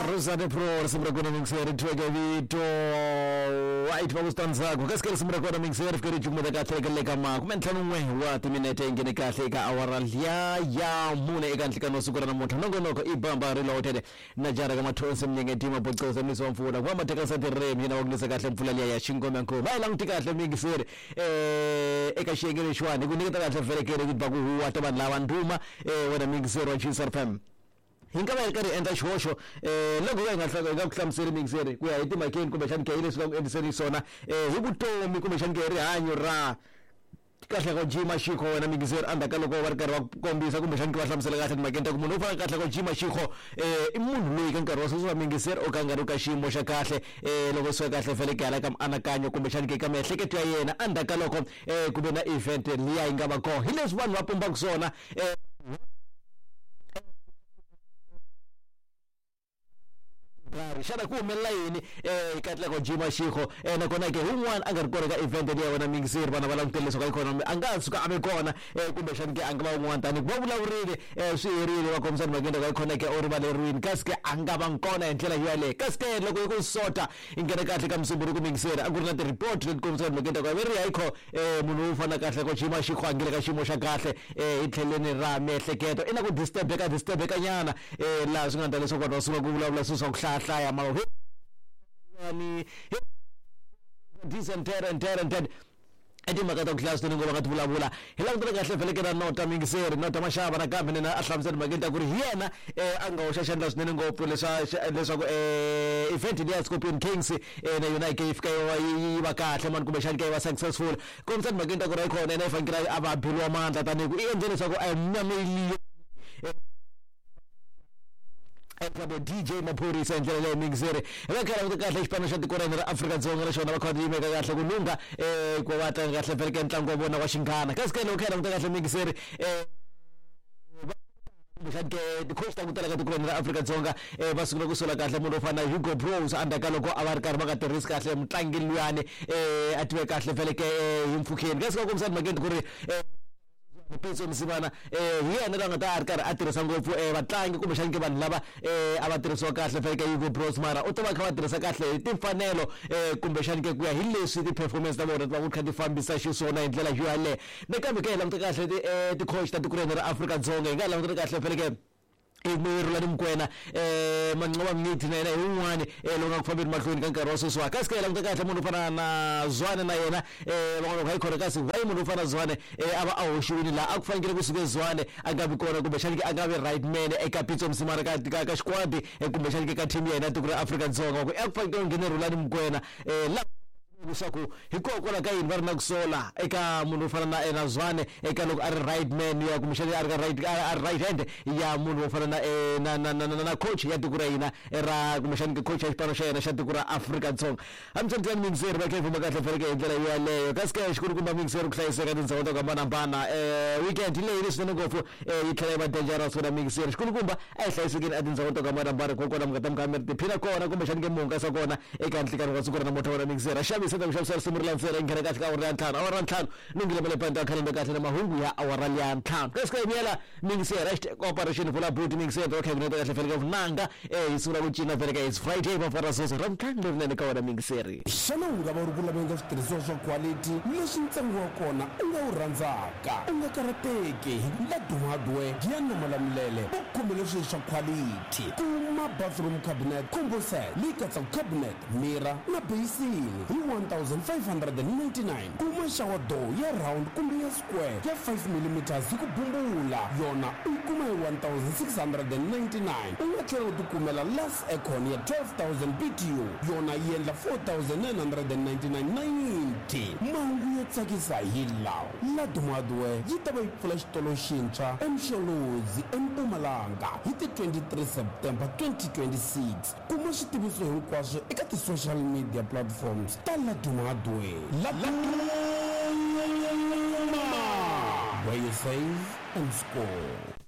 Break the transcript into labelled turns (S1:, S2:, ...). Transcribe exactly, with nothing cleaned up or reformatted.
S1: Rosane Pro risimu ra kona mixer tweke vito white va ku switandzhaku kasi ka risimu ra kona mixer fike ri cukumeta kahle eka le ka makume ntlhanu n'we wa timinete yi nghene kahle eka awara liya ya mune eka nhlikani wa siku ra namuntlha nongonoko i bamba reloaded na jara ka mathonsi mnyengeti mabocosa misi wa mpfula ku va matekasa tirimi yena wa ku nisa kahle mpfula liya ya xingomenkulu va yi languti kahle mixer eh eka xiyenge lexiwani hi ku nyiketa kahle vhelekele ku ba ku huwa ta vanhu lava ndhuma eh wena mixer wa G S F M hi nga va hi ri karhi hi endla xihoxo um loko hi nga hi nga ku hlamuseli mixeri ku ya hi timhakeni kumbexani ke hi leswi nga ku endliseni swona um hi vutomi kumbexani ke hi rihanyo ra kahle ko jima xikho wena mixeri endzhaku ka loko va ri karhi va kombisa kumbexani ke va hlamusela kahle timhakeni ta ku munhu u fana kahle ko jima xikho um i munhu loyi ka nkarhi wa sweswi wa mixeri o ka nga ri ka xiyimo xa kahle um loko swi kahle fanele ke hala ka mianakanyo kumbexani ke ka miehleketo ya yena endzhaku ka loko um ku ve na event liya yi nga va kona hi leswi vanhu va pumbaka swona um karhi xana ku humelela yini um katleko jima xikho um nakona ke wun'wana a nga ri kona ka event leyi ya wena mixeri vana va langutele leswaku ikhonomi a nga ha suka a ve kona um kumbexani ke a nga va wun'wana tani va vulavurile um swi herile va kombisa timhakeni ta ikhonomi ke u rivaleriwini kasi ke a nga va kona hi ndlela yoyaleyo kasi ke loko yi ku sota yi nghena kahle ka musumbhunuku mixeri a ku ri na ti-report leti kombisaka timhakeni ta ku ve ri hayikho um munhu wo fana kahle ko jima xikho a ngile ka xiyimo xa kahle um hi tlheleni ra miehleketo i na ku disturbeka disturbeka nyana um laha swi nga endla leswaku vanhu va sungula ku vulavula swilo swa ku hlayahlaya mara ni this and that and that and that i timhaka ta ku hlaya swinene ngo va nga ti vulavula hi langutele kahle vheleke na nota mingiseri nota maxava nakambe nena a hlamusela timhakeni ta ku ri hi yena um a nga hoxa xandla swinene ngopfu leswaku um event leyi ya Scorpion Kings um na yona yi ke yi fika yi va kahle mani kumbexani ke yi va successful kombisa timhakeni ta ku ri ayikhona yena yi fanekele a va beliwa mandla tanihi ku i endle leswaku a nyameliyo eka D J Maphorisa hi ndlela leyi mixeri hi va kha languta kahle xipano xa tiko ra hina ra Afrika-Dzonga naxona va kha va yimeka kahle ku lungha um ku va tlanga kahle vheleke ntlangu wa vona wa xinghana kasi ke loko kha hi languta kahle mixeri um kumbexani ke ti-coach ta ku tala ka tiko ra hina ra Afrika-Dzonga um va sungula ku sola kahle munhu wo fana na Hugo Broos endzhaku ka loko a va ri karhi va nga tirhisi kahle mutlangi luyani um a tive kahle vheleke hi mpfhukeni kasi va kombisa timhakeni ku ri Pitso Mosimane eh hi yena la nga ta a ri karhi a tirhisa ngopfu eh vatlangi kumbexani ke vanhu lava eh a va tirhisiwa kahle faneke Hugo Broos mara u ta va kha va tirhisa kahle hi timfanelo eh kumbexani ke ku ya hi leswi ti-performance ta vona ti va ku kha ti fambisa xiswona hi ndlela yo yaleyo nakambe ke hi languta kahle ti-coach ta tiko ra hina ra Afrika-Dzonga hi nga languta kahle faneke Rhulani Mokwena eh Manqoba Mngqithi na yena hi wun'wani eh lowu nga ku fambeni mahlweni ka nkarhi wa sweswiwa kasi ke hi languta kahle munhu wo fana na Zwane na yena eh van'wana va yi khona kasi why munhu wo fana na Zwane eh a va a hoxiwile laha a ku fanekele kusuke Zwane a nga vi kona kumbexani ke a nga vi right man eka Pitso Mosimane ka ka ka xikwadi kumbexani ke ka team ya hina tiko ra Afrika-Dzonga ku a ku fanekele ku nghene Rhulani Mokwena eh la leswaku hikokwalaho ka yini va ri na ku sola eka munhu wo fana na na Zwane eka loko a ri right man ya kumbexani a ri ka right a ri right hand ya munhu wo fana na na na na na coach ya tiko ra hina ra kumbexani coach ya xipano xa yena xa tiko ra Afrika-Dzonga hamitsondzani mixeri va kha yi famba kahle faneke hi ndlela yoyaleyo kasi ke xikulukumba mixeri ku hlayiseka tindhawu to hambanahambana um weekend leyi leswinene ngopfu yi tlhela yi va dangerous wena mixeri xikulukumba a hi hlayisekeni a tindhawu to hambanahambana kokwana mi nga ta mi kha mi ri tiphina kona kumbexani ke mi hungasa kona eka nhlikani wa siku ra namuntlha wena mixeri a xavisa ta ku xavisa risimu ri landzela yi nghena kahle ka awara ya ntlhanu awara ya ntlhanu lunghile ma le pandi ya khalenda kahle na mahungu ya awara ya ntlhanu kasi ka yimela mixeri hashtag operation vula buti mixeri va kha yi kuneta kahle faneke vunanga eh hi sungula ku cina faneke it's Friday va fara sweswo ra ntlhanu lerinene ka wena mixeri
S2: xana u nga va u ri ku laveni ka switirhisiwa swa quality leswi ntsengo wa kona u nga wu rhandzaka u nga karhateki hi ku Laduma Hardware Giyani Malamulele va khomele swilo swa quality kuma bathroom cabinet combo set leyi katsaka cabinet mirror na basin hi one thousand five hundred and ninety-nine kuma shower door ya round kumbe ya square ya five millimeters hi ku bumbula yona u yi kuma hi one thousand six hundred and ninety-nine u nga tlhela u tikumela last aircon ya twelve thousand B T U yona yi endla four thousand nine hundred and ninety-nine ninety mahungu yo tsakisa hi lawa Laduma Hardware yi ta va yi pfula xitolo xintshwa eMsholozi eMpumalanga hi ti twenty-three September twenty twenty-six kuma switiviso hinkwaswo eka ti-social media platforms ta Laduma Hardware Laduma where you save and score.